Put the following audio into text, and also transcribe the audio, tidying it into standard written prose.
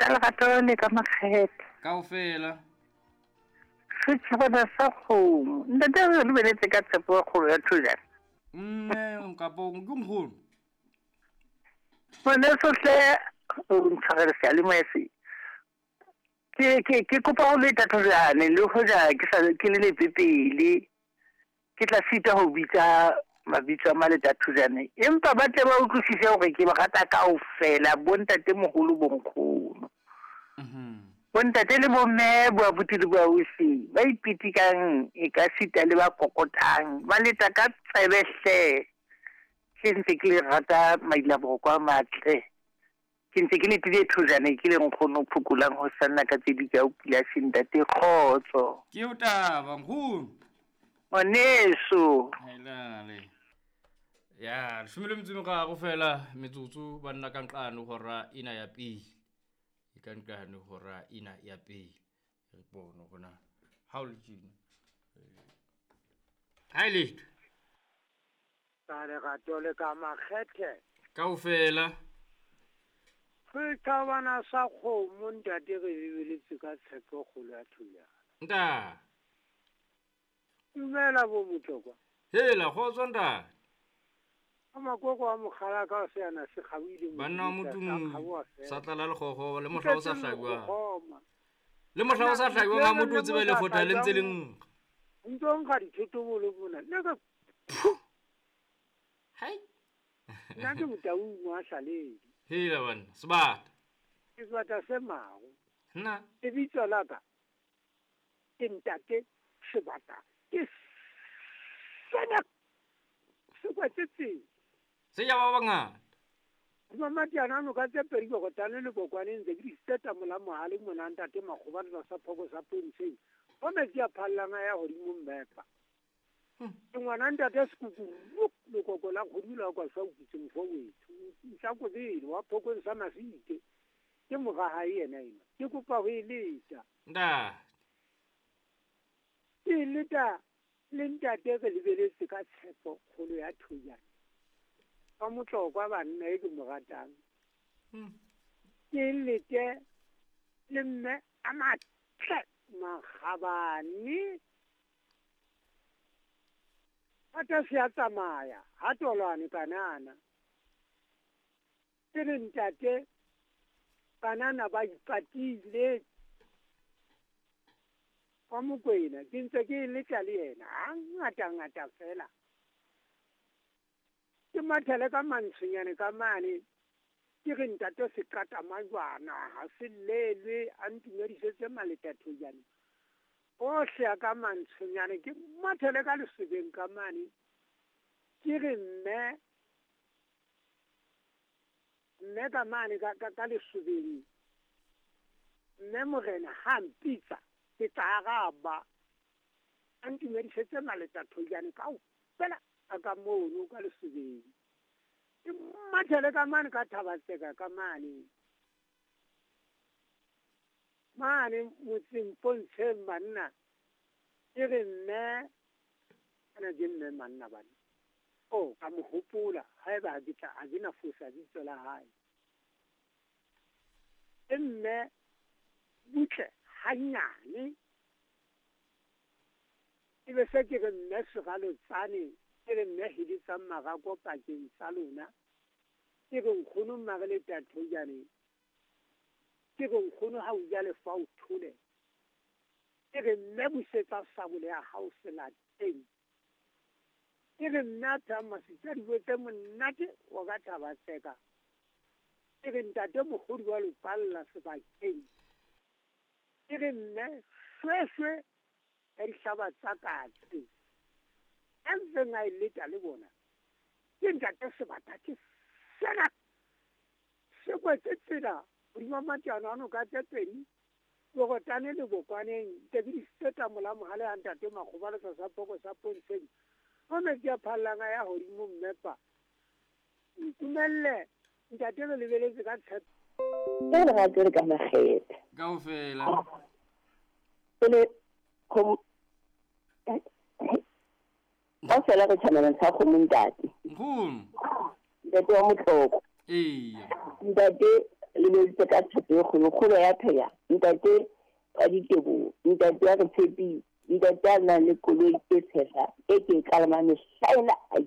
Ka lerato le ka makgethe. Kaofela. Setjhabana sa kgomo. Ntate re lebeletse ka tshepo e kgolo ya thojana. Mme kapo ke nkgono. Ngwaneso hle o ntshwarele seyalemoya se. Ke kopa ho leta thojane le hoja ke sa ke le lepepele. Ke tla sita ho bitsa mabitso a maleta thojane. Empa ba tle ba utlwisise hore ke ba rata kaofela bontate moholo bonkgono. Bontate le bomme bo abuti le boausi ba ipitikang e ka sita le ba kokotang ba leta ka tsebe hle. Ke ntse ke le rata maila boroko a matle. Ke ntse ke letile thojane ke le nkgono phokolang ho sanna ka tse di ka o pila sentate kgotso. Ke o taba nkgono. Ngwaneso. Hailale. Ya, 13 fela metsotso banna ka nqane hora ena ya pele. E ka nqane hora ena ya pele. Re bone hore na ha o le tjena. Ha ile. Ka lerato le ka makgethe. Kaofela. Setjhabana sa kgomo ntate re lebeletse ka tshepo kgolo ya thulana. Nta. Dumela bo Motlokwa. Hela kgotso ntate. A makoko a mokgala ka se ana se kgabile. Banna motho sa tlala le kgogo le mohla o sa hlajwa. Le mohla o sa hlajwa ga motho o tsebe le fota le ntse le nkga. Ntse nkga dithotobolo mona. Le ka Hai. Nna ke motaung wa hlaledi. Hela banna, sebata. Ke sebata se mago. Nna. Lebitso la ka ke ntate sebata. Ke sena se kwetsetseng. Se ya ba bangata. Mamatiana no ka tse pedi go tane le bokwane ntse ke di seta mola mohale mona ntate makgoba le sa phoko sa pontsheng. Ho metsi a phallanga ya hodimo mmepa. Ke ngwana ntate sekuku lekoko la kgodula kwa sa ukitse mfo wethu. Sa kobele wa phoko sa masite. Ke moga ha yena ena. Ke kopa ho eleta. Nda. Ke leta le ntate re lebeletse ka tshepo kgolo ya thojana. Ka Motlokwa banna e ke mo ratang. Ke lete le mme a matle makgabane. Ata se a tsamaya ha tolwane banana. Ke re ntate banana ba ipatile. Kwa Mokwena ke ntse ke letla le yena ha ngata ngata fela. Ke mathele ka mantshonyane ka mane ke re ntate se qata majwana ha se lelwe a ntumedisetse maletathojane. Ohle a ka mantshonyane ke mathele ka lesebeng ka mane ke re mme mme ka mane ka lesebeng mme morena ha mpitsa ke tla araba a ntumedisetse maletathojane kaofela a ka mono ka lesebeng. Ke mathele ka mane ka Thabatseka ka mane mane motseng pontsheng banna ke re mme ana ke mme manna bana o ka mo hopola haeba ha ke tla ha ke na fosa bitso la hae. E mme butle hanyane e be se ke re mme segalotsane ke re mme heditsang marako pakeng tsa lona ke re nkgono mmare le tathojane ke re nkgono ha o ja lefa o thole ke re mme busetsa sabole ya hao selateng ke re mme a phehang masitsa dijo tse monate wa ka Thabatseka ke re ntate mokgodi wa lopalla sebakeng ke re mme shweshwe ya dihlaba tsa katse a ntseng a e leta le bona ke ntate sebata ke sena se kwetse tsela hodima matiano ano ka tse pedi bogotane le bokwaneng ntse ke di seta mola mohale a ntate makgoba le sa phoko sa pontsheng ho metsi a phallanga ya hodimo mmepa. Ntumelle ntate re lebeletse ka tshepo. Ka lerato le ka makgethe. Kaofela. Pele kaofela re tshwanela sa kgomo ntate. Nkgono. Ntate wa Motlokwa. Eya. Ntate Lebeditse ka thato e kgolo, kgolo ya phela. Ntate wa Diteboho, ntate wa re tshepile, ntate a nang le koloi e tshehla e ke e kalamang mehlaena.